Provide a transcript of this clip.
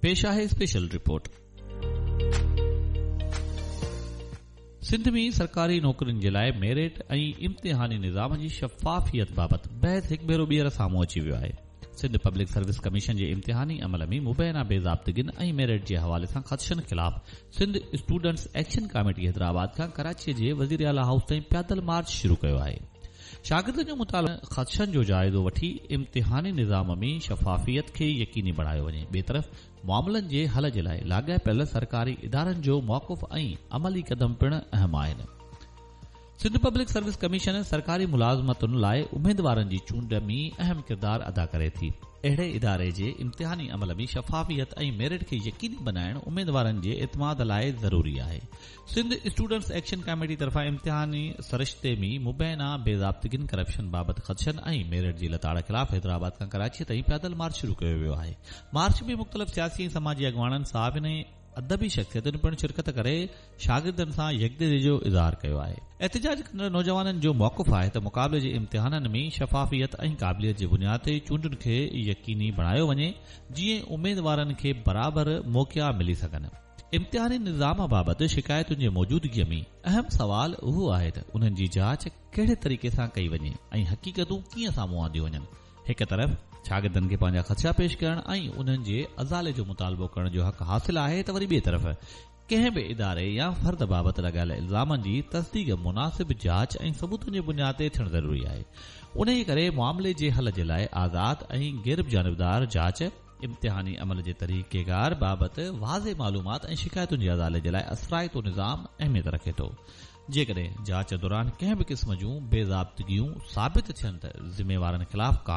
پيش آهي special report. Sindh ۾ سرڪاري نوڪرين جي لاء ميرٽ ۽ امتحاني نظام جي شفافيت بابت بحث هڪ ڀيرو ٻيهر سامهون اچي ويو آهي. سنڌ پبلڪ سروس ڪميشن جي امتحاني عمل ۾ مبينا بي ضابطگين ۽ ميرٽ جي حوالي سان خدشن خلاف Sindh students action committee Hyderabad کان ڪراچي جي وزيراعليٰ هائوس تائين پيادل مارچ شروع ڪيو آهي. شاگردن جو مطالبو خدشن جو جائزو وٺي امتحاني نظام ۾ شفافيت کي يقيني بڻايو وڃي. ٻئي طرف معاملن جي حل جي لاء لاڳاپيل سرڪاري ادارن جو موقف ۽ عملي قدم پڻ اهم آهن. سنڌ پبلڪ سروس ڪميشن سرڪاري ملازمتن لاء اميدوارن جي چونڊ ۾ اهم ڪردار ادا ڪري ٿي. اهڙي اداري جي امتحاني عمل ۾ شفافيت ۽ ميرٽ کي يقيني بنائڻ اميدوارن جي اعتماد لاء ضروري آهي. سنڌ اسٽوڊنٽس ايڪشن ڪاميٽي طرفان امتحاني سرشتي ۾ مبينا بي ضابطگين، ڪرپشن بابت خدشن ۽ ميرٽ جي لتاڙ خلاف حيدرآباد کان ڪراچيء تائين پيادل مارچ شروع ڪيو ويو آهي. مارچ ۾ مختلف سياسي ۽ سماجي اڳواڻن، صحافين ۽ ادبي شخصيتن پڻ شرڪت ڪري شاگردن سان يڪجهتي جو اظهار ڪيو آهي. احتجاج ڪندڙ نوجوانن جو موقف آهي ته مقابلي جي امتحانن ۾ شفافيت ۽ قابليت جي بنياد تي چونڊن کي يقيني بڻايو وڃي جيئن اميدوارن کي برابر موقعا ملي سگهن. امتحاني نظام بابت شڪايتن جي موجودگيء ۾ اهم سوال اهو آهي ته انهن جي جاچ ڪهڙي طريقي سان ڪئي وڃي ۽ حقيقتون ڪيئن سامهون آنديون وڃن. هڪ طرف شاگردن کي پنهنجا خدشا پيش ڪرڻ ۽ انهن جي ازالي جو مطالبو ڪرڻ جو حق حاصل آهي ته وري ٻئي طرف ڪنهن به اداري يا فرد بابت لڳايل الزامن جي تصديق مناسب جاچ ۽ ثبوتن جي بنياد تي ٿيڻ ضروري آهي. انهيء ڪري معاملي جي حل جي لاء آزاد ۽ غيرجانبدار جاچ، امتحاني عمل جي طريقيڪار بابت واضح معلومات ۽ شڪايتن جي ازالي جي لاء اثرائتو نظام اهميت رکي ٿو. جيڪڏهن جاچ دوران ڪنهن به قسم جون بي ضابطگيون ثابت ٿين ته ذميوارن خلاف قانون.